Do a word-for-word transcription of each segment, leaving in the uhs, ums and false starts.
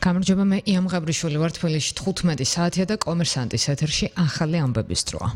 გამარჯობა, მე იამ ღაბრიშვილი ვარ, თბილისში თხუთმეტი საათია და კომერსანტის ეთერში ახალი ამბების დროა.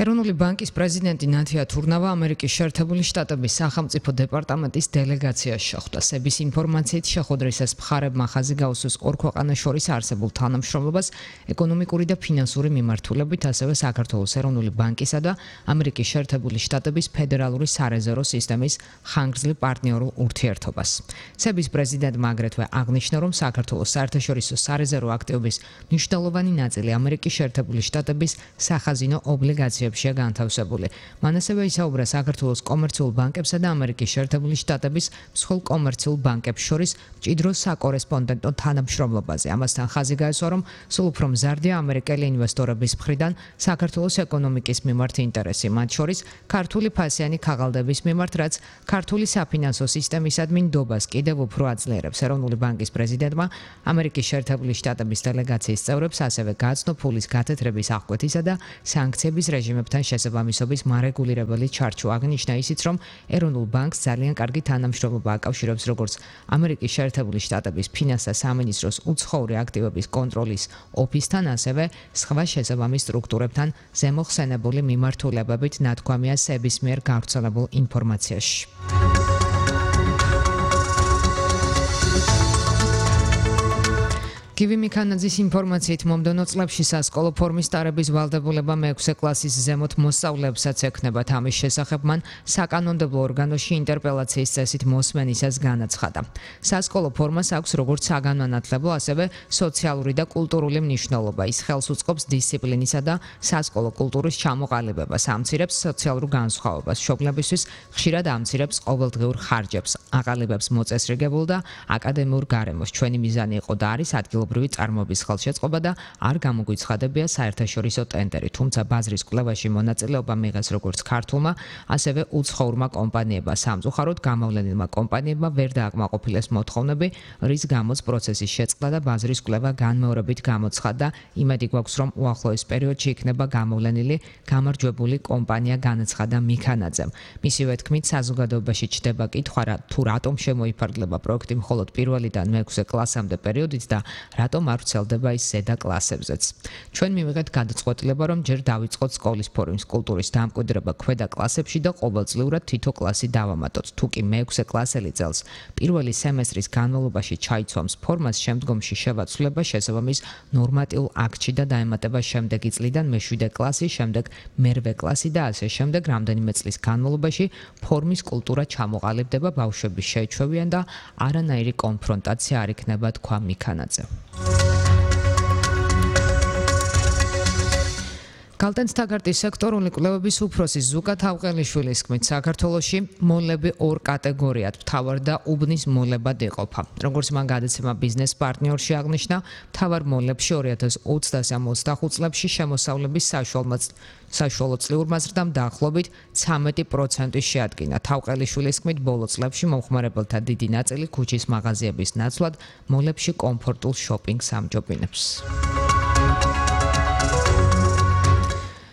ეროვნული ბანკის პრეზიდენტი ნათია თურნავა ამერიკის შეერთებული შტატების სახელმწიფო დეპარტამენტის დელეგაციაში შეხვდა. სების ინფორმაციით შეხვედრისას მხარებმა ხაზი გაუსვეს ორ ქვეყანას შორის არსებულ თანამშრომლობას ეკონომიკური და ფინანსური მიმართულებით, ასევე საქართველოს ეროვნული ბანკისა და ამერიკის შეერთებული შტატების ფედერალური სარეზერვო სისტემის ხანგრძლივ პარტნიორულ ურთიერთობას. სების პრეზიდენტმა აგრეთვე აღნიშნა, რომ საქართველოს საერთაშორისო სარეზერვო აქტივების მნიშვნელოვანი ნაწილი ამერიკის შეერთებული შტატების სახაზინო ობლიგაციებში განთავსებული. მან ასევე ისაუბრა საქართველოს კომერციულ ბანკებსა და ამერიკის შეერთებული შტატების მსხვილ კომერციულ ბანკებს შორის მჭიდრო საკორესპონდენტო თანამშრომლობაზე. ამასთან ხაზი გაესვა, რომ სულ უფრო მზარდია ამერიკელი ინვესტორების მხრიდან საქართველოს ეკონომიკის მიმართ ინტერესი, მათ შორის ქართული ფასიანი ქაღალდების მიმართ, რაც ქართული საფინანსო სისტემისადმი ნდობას კიდევ უფრო აძლიერებს. ეროვნული ბანკის პრეზიდენტმა ამერიკის შეერთებული შტატების დელეგაციის წევრებს ასევე გააცნო ფულის გათეთრების აღკვეთისა და სანქციების რეჟიმებთან შესაბამისობის მარეგულირებელი ჩარჩო. აღნიშნა ისიც, რომ ეროვნულ ბანკს ძალიან კარგი თანამშრომლობა აკავშირებს როგორც ამერიკის შეერთებული შტატების ფინანსთა სამინისტროს უცხოური აქტივების კონტროლის ოფისთან, ასევე სხვა შესაბამის სტრუქტურებთან ზემოხსენებული მიმართულებებით, ნათქვამია სების მიერ გავრცელებულ ინფორმაციაში. გივი მიქანაძის ინფორმაციით მომდევნო წლებში სასკოლო ფორმის ტარების ვალდებულება მეექვსე კლასის ზემოთ მოსწავლეებსაც ექნებათ. ამის შესახებ მან საკანონმდებლო ორგანოში ინტერპელაციის წესით მოსმენისას განაცხადა. სასკოლო ფორმას აქვს როგორც საგანმანათლებლო, ასევე სოციალური და კულტურული მნიშვნელობა. ის ხელს უწყობს დისციპლინისა და სასკოლო კულტურის ჩამოყალიბებას, ამცირებს სოციალურ განსხვავებას, მშობლებისთვის ხშირად ამცირებს ყოველდღიურ ხარჯებს, აყალიბებს მოწესრიგებულ და აკადემიურ გარემოს. ჩვენი მიზანი იყო და არის ადგილობრივი წარმოების ხელშეწყობა და არ გამოგვიცხადებია საერთაშორისო ტენდერი, თუმცა ბაზრის კვლევაში მონაწილეობა მიიღეს როგორც ქართულმა, ასევე უცხოურმა კომპანიებმა. სამწუხაროდ გამოვლენილმა კომპანიებმა ვერ დააკმაყოფილეს მოთხოვნები, რის გამოც პროცესის შეწყდა და ბაზრის კვლევა განმეორებით გამოცხადდა. იმედი გვაქვს, რომ უახლოეს პერიოდში იქნება გამოვლენილი გამარჯვებული კომპანია, განაცხადა მიქანაძემ. მისივე თქმით, საზოგადოებაში ჩდება კითხვა, თუ რატომ შემოიფარგლება პროექტი მხოლოდ პირველიდან მეექვსე კლასამდე პერიოდით და რატომ არ ვრცელდება ის ზედა კლასებზეც. ჩვენ მივიღეთ გადაწყვეტილება, რომ ჯერ დავიწყოთ სკოლის ფორმის კულტურის დამკვიდრება ქვედა კლასებში და ყოველწლიურად თითო კლასი დავამატოთ. თუ კი მეექვსე კლასელი წელს პირველი სემესტრის განმავლობაში ჩაიცვამს ფორმას, შემდგომში შევაცვლება შესაბამის ნორმატიულ აქტში და დაემატება შემდეგი წლიდან მეშვიდე კლასი, შემდეგ მერვე კლასი და ასე შემდეგ. რამდენიმე წლის განმავლობაში ფორმის კულტურა ჩამოყალიბდება, ბავშვები შეიჩვევიან და არანაირი კონფრონტაცია არ იქნება, თქვა მიქანაძე. გალტენსტაგარტის სექტორული კვლევების უფროსი ზუკა თავყელიშვილის თქმით, საქართველოში მოლები ორ კატეგორიად, მთავარ და უბნის მოლებად იყოფა. როგორც მან გადაცემა ბიზნეს პარტნიორში აღნიშნა, მთავარ მოლებში ორი ათას ოცდასამ ოცდახუთ წლებში შემოსავლების საშუალო წლიურმა ზრდამ დაახლოებით ცამეტი პროცენტი შეადგინა. თავყელიშვილის თქმით, ბოლო წლებში მომხმარებელთა დიდი ნაწილი ქუჩის მაღაზიების ნაცვლად მოლებში კომფორტულ შოპინგს ამჯობინებს.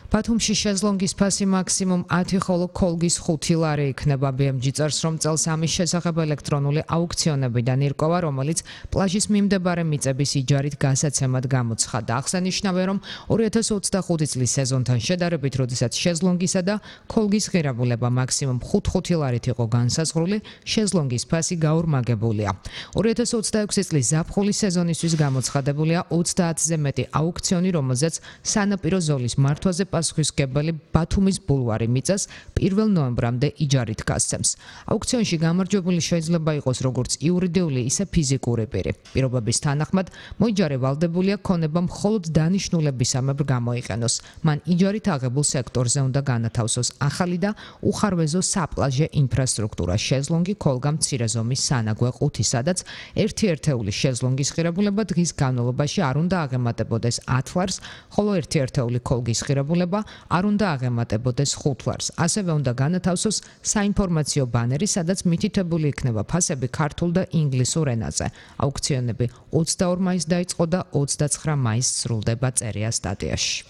ბათუმში შეზლონგის ფასი მაქსიმუმ ათი, ხოლო ქოლგის ხუთი ლარი იქნება. ბი ემ ჯი წერს, რომ წელს ამის შესახებ ელექტრონული აუქციონებიდან ირკვევა, რომელიც პლაჟის მიმდებარე მიწების იჯარით გასაცემად გამოცხადდა. აღსანიშნავია, რომ ორი ათას ოცდახუთი წლის სეზონთან შედარებით, როდესაც შეზლონგისა და ქოლგის ღირებულება მაქსიმუმ ხუთ ლარით იყო განსაზღვრული, შეზლონგის ფასი გაორმაგებულია. ორი ათას ოცდაექვსი წლის ზაფხულის სეზონისთვის გამოცხადებულია ოცდაათზე მეტი აუქციონი, რომელზეც სანაპირო ზოლის მართვაზე პასუხისმგებელი ბათუმის ბულვარი მიწას პირველ ნოემბრამდე იჯარით გასცემს. აუქციონში გამარჯვებული შეიძლება იყოს როგორც იურიდიული, ისე ფიზიკური პირი. პირობების თანახმად მოიჯარე ვალდებულია ქონება მხოლოდ დანიშნულებისამებრ გამოიყენოს. მან იჯარით აღებულ სექტორზე უნდა განათავსოს ახალი და უხარვეზო საპლაჟე ინფრასტრუქტურა, შეზლონგი, ქოლგა, მცირე ზომის სანაგვე ყუთი, სადაც ერთი ერთეული შეზლონგის ღირებულება დღის განმავლობაში არ უნდა აღემატებოდეს ათ ლარს, ხოლო ერთი ერთეული ქოლგის ღირებულება არ უნდა აღემატებოდეს ხუთ ლარს. ასევე უნდა განათავსოს საინფორმაციო ბანერი, სადაც მითითებული იქნება ფასები ქართულ და ინგლისურ ენაზე. აუქციონები ოცდაორ მაისს დაიწყო და ოცდაცხრა მაისს სრულდება, წერია სტატიაში.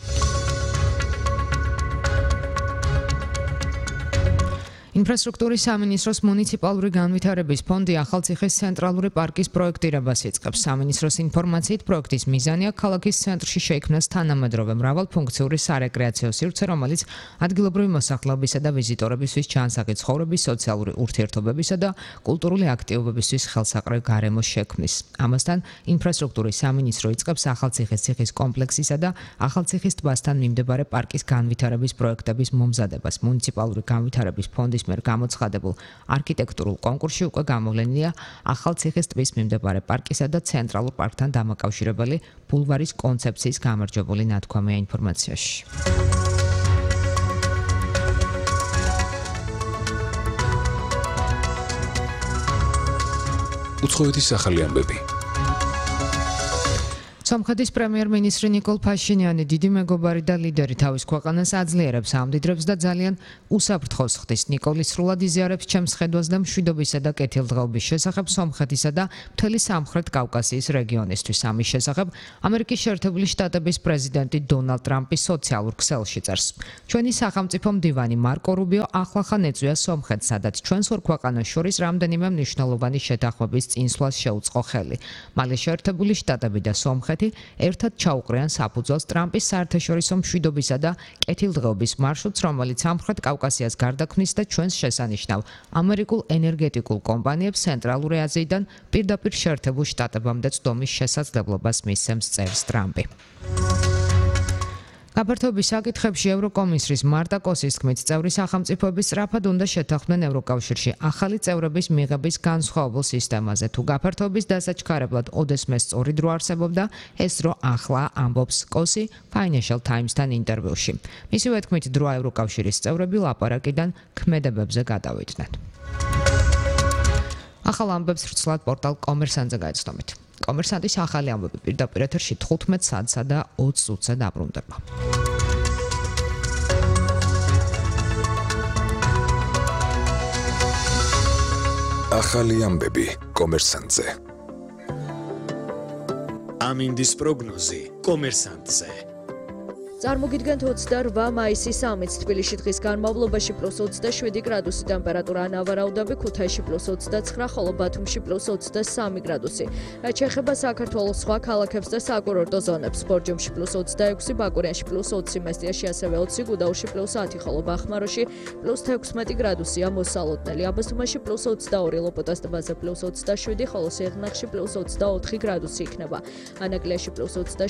ინფრასტრუქტურის სამინისტროს მუნიციპალური განვითარების ფონდი ახალციხის ცენტრალური პარკის პროექტირებას იწყებს. სამინისტროს ინფორმაციით, პროექტის მიზანია ქალაქის ცენტრში შეიქმნას თანამედროვე მრავალფუნქციური სარეკრეაციო სივრცე, რომელიც ადგილობრივი მოსახლეობისა და ვიზიტორებისთვის ჯანსაღი ცხოვრების, სოციალური ურთიერთობებისა და კულტურული აქტივობებისთვის ხელსაყრელ გარემოს შექმნის. ამასთან, ინფრასტრუქტურის სამინისტრო იწყებს ახალციხის ციხის კომპლექსისა და ახალციხის ტბასთან მიმდებარე პარკის განვითარების პროექტების მომზადებას. მუნიციპალური განვითარების ფონდის მიერ გამოცხადებულ არქიტექტურულ კონკურსში უკვე გამოვლენილია ახალციხის ტბის მიმდებარე პარკისა და ცენტრალურ პარკთან დამაკავშირებელი ბულვარის კონცეფციის გამარჯვებული ნათქვამია ინფორმაციაში. უცხოეთის ახალი ამბები. სომხეთის პრემიერ-მინისტრი ნიკოლ ფაშინიანი დიდი მეგობარი და ლიდერი თავის ქვეყანას აძლიერებს, ამდიდრებს და ძალიან უსაფრთხოს ხდის. ნიკოლი სრულად იზიარებს ჩემს ხედვას და მშვიდობისა და კეთილდღეობის შესახებ სომხეთისა და მთელი სამხრეთ კავკასიის რეგიონისთვის. ამის შესახებ ამერიკის შეერთებული შტატების პრეზიდენტი დონალდ ტრამპი სოციალურ ქსელში წერს. ჩვენი სახელმწიფო მდივანი მარკო რუბიო ახლახან ეწვია სომხეთს, სადაც ჩვენს ორ ქვეყანას შორის რამდენიმე მნიშვნელოვანი შეთანხმების წინსვლას შეუწყო ხელი. მალე შეერთებული შტატები და სომხეთი ერთად ჩაუყრიან საფუძველს ტრამპის საერთაშორისო მშვიდობისა და კეთილდღეობის მარშრუტს, რომელიც სამხრეთ კავკასიას გარდაქმნის და ჩვენს შესანიშნავ ამერიკულ ენერგეტიკულ კომპანიებს ცენტრალური აზიიდან პირდაპირ შეერთებულ შტატებამდე წვდომის შესაძლებლობას მისცემს, წერს ტრამპი. გაფართოების საკითხებში ევროკომისრის მარტა კოსის თქმით, წევრი სახელმწიფოები სწრაფად უნდა შეთანხმდნენ ევროკავშირში ახალი წევრების მიღების განსხვავებულ სისტემაზე. თუ გაფართოების დასაჩქარებლად ოდესმე სწორი დრო არსებობდა, ეს დრო ახლა, ამბობს კოსი Financial Times-თან ინტერვიუში. მისივე თქმით, დროა ევროკავშირის წევრები ლაპარაკიდან ქმედებებზე გადავიდნენ. ახალ ამბებს ვრცლად პორტალ კომერსანტზე გაეცნობით. კომერსანტის ახალი ამბები პირდაპირ ეთერში თხუთმეტ საათსა და ოცი წუთზე დაბრუნდება. ახალი ამბები კომერსანტზე. ამინდის პროგნოზი კომერსანტზე. წარმოგიდგენთ ოცდაორმა მაისის სამიც თბილისში დღის განმავლობაში პლუს ოცდაშვიდი გრადუსი ტემპერატურა ანავარაუდები, ქუთაისში პლუს ოცდაცხრა, ხოლო ბათუმში პლუს ოცდასამი გრადუსი. რაც შეეხება საქართველოს სხვა ქალაქებს და საკურორტო ზონებს, ბორჯომში პლუს ოცდაექვსი, ბაკურიანში პლუს ოცი, მესტიაში ასევე ოცი, გუდაურში პლუს ათი, ხოლო ბახმაროში პლუს თექვსმეტი გრადუსია მოსალოდნელი. აბასთუმანში პლუს ოცდაორი, ლოპოტას ტბაზე პლუს ოცდაშვიდი, ხოლო სიღნაღში პლუს ოცდაოთხი გრადუსი იქნება. ანაკლიაში პლუს ოცდაშვიდი